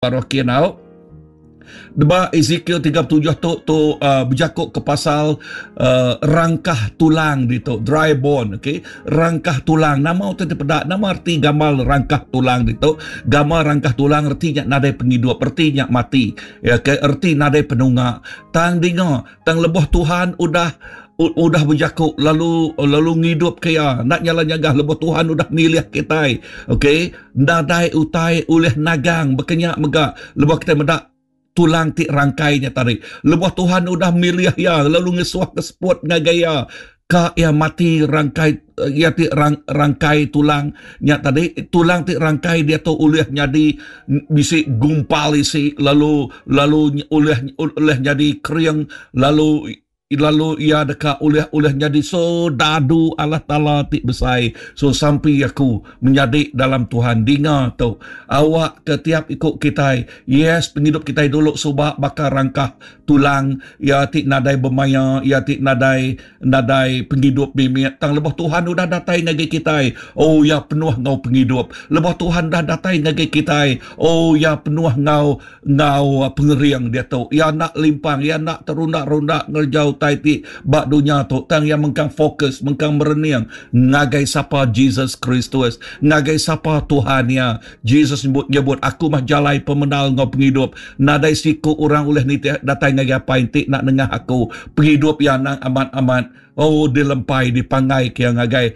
Baruh kin au. Deba Ezekiel 37 tu tu uh, bejaku ke pasal uh, rangkah tulang ditu, dry bone, okey. Rangkah tulang nama utai dipeda, nama arti gamal rangkah tulang ditu? Gamal rangkah tulang reti nya nadai pengidup, reti nya mati. Ya, okay? Reti nadai penunga. Tang dinga, tang lebuh Tuhan udah udah bejaku lalu lalu ngidup ke iya enda nyala nyagah lebuh Tuhan udah milih kitai okey nadai utai ulih nagang baka nya mega lebuh kitai meda tulang ti rangkai nya tadi lebuh Tuhan udah milih iya lalu ngesuh ke seput ngagai iya ka iya mati rangkai iya ti rang, rangkai tulang nya tadi tulang ti rangkai diatu ulih nyadi bisi gumpal isi lalu lalu ulih ulih nyadi kering lalu Lalu iya deka ulih ulih nyadi soldadu Allah Taala ti besai. So sampi aku menyadi dalam Tuhan dinga tu awak ke tiap iku kitai yes pengidup kitai dulu suba baka rangkah tulang iya ti nadai bemaya iya ti nadai nadai pengidup mimit tang lebuh Tuhan udah datai ngagai kitai oh iya penuh enggau pengidup lebuh Tuhan udah datai ngagai kitai oh iya penuh enggau enggau pengering diatu. Iya enda limpang, iya enda terunda-runda ngereja utai ti ba dunya tu, tang iya mengkang fokus, mengkang merening ngagai sapa Jesus Kristus, ngagai sapa Tuhan iya. Jesus nyebut, nyebut Aku mah jalai pemendar enggau pengidup. Nadai siku orang ulih nitih datai ngagai Apai enti enda nengah aku. Pengidup iya endang amat-amat oh dilempai, dipanggaika iya ngagai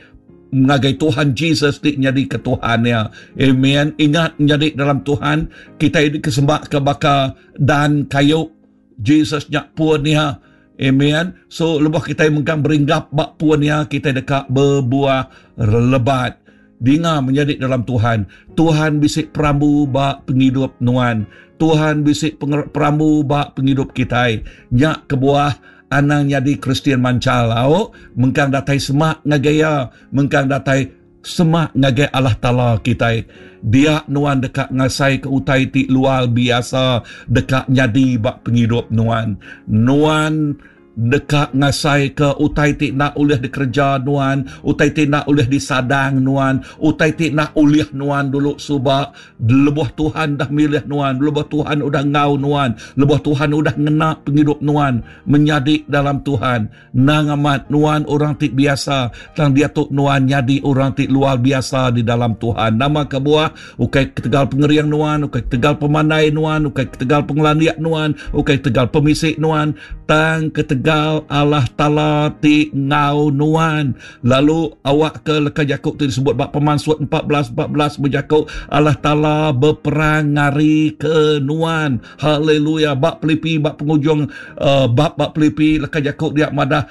ngagai Tuhan Jesus ti nyadika Tuhan iya. Amen. Ingat menyadi dalam Tuhan, kitai dikesembahka baka dan kayu. Jesus nya pun iya. Amen. So lebuh kitai mengkang beringgap ba pun iya, kitai deka bebuah lebat. Dinga menyadi dalam Tuhan, Tuhan bisi perambu ba pengidup nuan. Tuhan bisi perambu ba pengidup kitai. Nya kebuah Anang nyadi Kristian manchal au, mengkang datai semak ngagai Iya, mengkang datai semak ngagai Allah Taala kitai. Dia nuan deka ngasaika utai ti luar biasa deka nyadi ba pengidup nuan. Nuan deka ngasaika utai ti enda ulih dikereja nuan, utai ti enda ulih disadang nuan, utai ti enda ulih nuan dulu suba, Lebuh Tuhan dah milih nuan, lebuh Tuhan udah enggau nuan, lebuh Tuhan udah ngena pengidup nuan menyadi dalam Tuhan, nang amat nuan orang ti biasa, tang diatu nuan nyadi orang ti luar biasa di dalam Tuhan. Nama kebuah? Ukai ketegal pengering nuan, ukai ketegal pemandai nuan, ukai ketegal pengelandik nuan, ukai ketegal pemisi nuan, tang ketegal Allah Taala ti enggau nuan. Lalu awakka leka jaku ti disebut ba Pemansut 14 14 bejaku Allah Taala beperang ngari ke nuan. Haleluya. Ba Pilipi ba pengujung uh, bab ba Pilipi leka jaku dia madah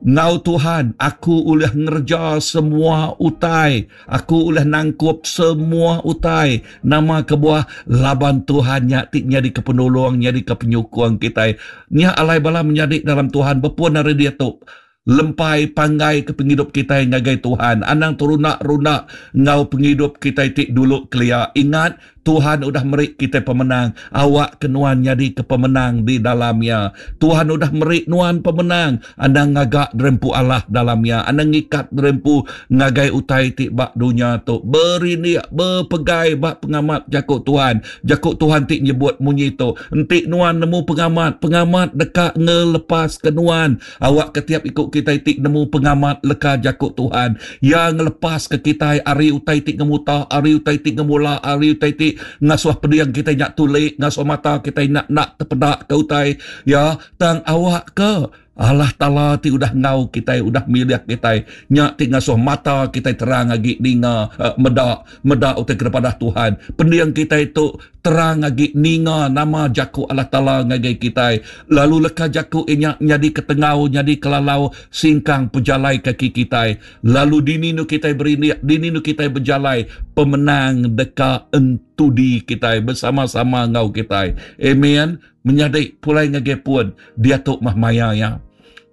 Enggau Tuhan, aku ulih ngereja semua utai. Aku ulih nangkup semua utai. Nama kebuah? Laban Tuhan nya ti nyadika penolong, nyadika penyukung kitai. Nya alai bala menyadi dalam Tuhan bepun ari diatu. Lempai panggai ke pengidup kitai ngagai Tuhan. Anang terunda-runda enggau pengidup kitai ti dulu kelia. Ingat, Tuhan udah meri kitai pemenang. Awakka nuan nyadika pemenang di dalam Iya. Tuhan udah meri nuan pemenang. Anang ngaga derempu alah dalam Iya. Anang ngikat derempu ngagai utai ti ba dunya tu. Berindik, bepegai ba pengamat jaku Tuhan. Jaku Tuhan ti nyebut munyi tu, Enti nuan nemu pengamat, pengamat deka ngelepaska nuan. Awakka tiap iku kitai ti nemu pengamat leka jaku Tuhan. Iya ngelepaska kitai ari utai ti ngemuta, ari utai ti ngemula, ari utai ti ngasuh pending kitai nya tuli, ngasuh mata kitai nya enda tepedaka utai. Ya, tang awakka Allah Taala ti udah enggau kitai, udah milih kitai, nya ti ngasuh mata kitai terang agi ninga, eh, meda, meda utai ke dipadah Tuhan. Pending kitai tu terang agi ninga nama jaku Allah Taala ngagai kitai, lalu leka jaku iya nya nyadi ke tengau, nyadi ke lalau singkang pejalai kaki kitai. Lalu dini enu kitai berindik, dini enu kitai bejalai, pemenang deka entudi kitai besama-sama enggau kitai. Amen. Menyadi pulai ngagai pun, diatu mah maya iya.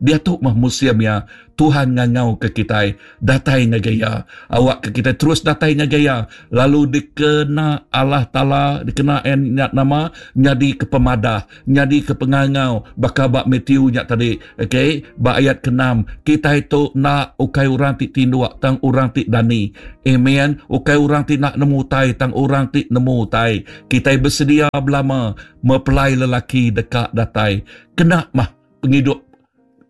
Diatu meh musim iya Tuhan ngangauka kitai datai ngagai Iya. Awakka kitai terus datai ngagai Iya lalu dikena Allah Taala dikena Iya nya nama nyadika pemadah, nyadika pengangau baka ba Matthew nya tadi. Okay, ba ayat keenam, kitai tu enda ukai orang ti tinduk tang orang ti dani. Amen. Ukai orang ti enda nemu utai tang orang ti nemu utai. Kitai besedia belama mepelai lelaki deka datai. Kena mah pengidup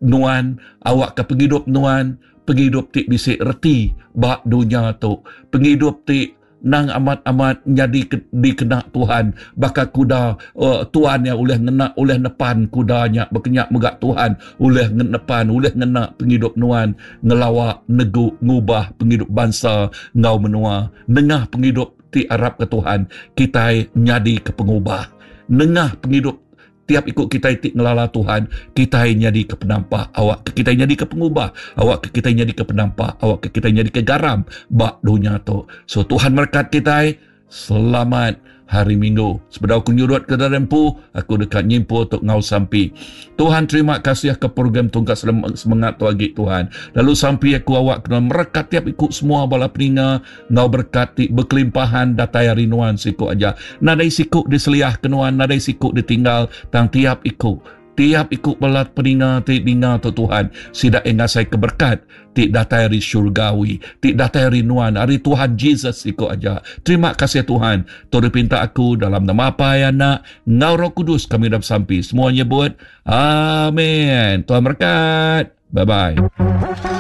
nuan awakka pengidup nuan pengidup ti bisi reti ba dunya tu pengidup ti nang amat-amat nyadi dikena Tuhan baka kuda uh, Tuhan yang ulih ngena ulih nepan kuda nya baka nya mega Tuhan ulih nepan ulih ngena pengidup nuan ngelawa negu ngubah pengidup bansa enggau menua nengah pengidup ti arapka Tuhan kitai nyadi ke pengubah nengah pengidup Tiap iku kitai ti ngelala Tuhan, kitai nyadika penampak awakka kitai nyadika pengubah, awakka kitai nyadika penampak, awakka kitai nyadika garam ba dunya tu. So Tuhan merekat kitai. Selamat Hari Minggu. Sebedau aku nyurut ke dalam empu, aku deka nyimpul tu enggau sampi. Tuhan terima kasih ke program tungkat semengat tu agi Tuhan. Lalu sampi aku awak kena merekat tiap iku semua bala peninga enggau berekat ti bekelimpahan datai ari nuan siku aja. Nadai siku diseliah ke nuan, nadai siku ditinggal, tang tiap iku, tiap iku bala peninga ti ninga tu Tuhan, sida iya ngasai ke berekat ti datai ari syurgawi, ti datai ari nuan, ari Tuhan Jesus siku aja. Terima kasih Tuhan, tu dipinta aku dalam nama Apai, Anak, enggau Roh Kudus kami udah besampi. Semua nyebut, Amin. Tuhan berkat. Bye-bye.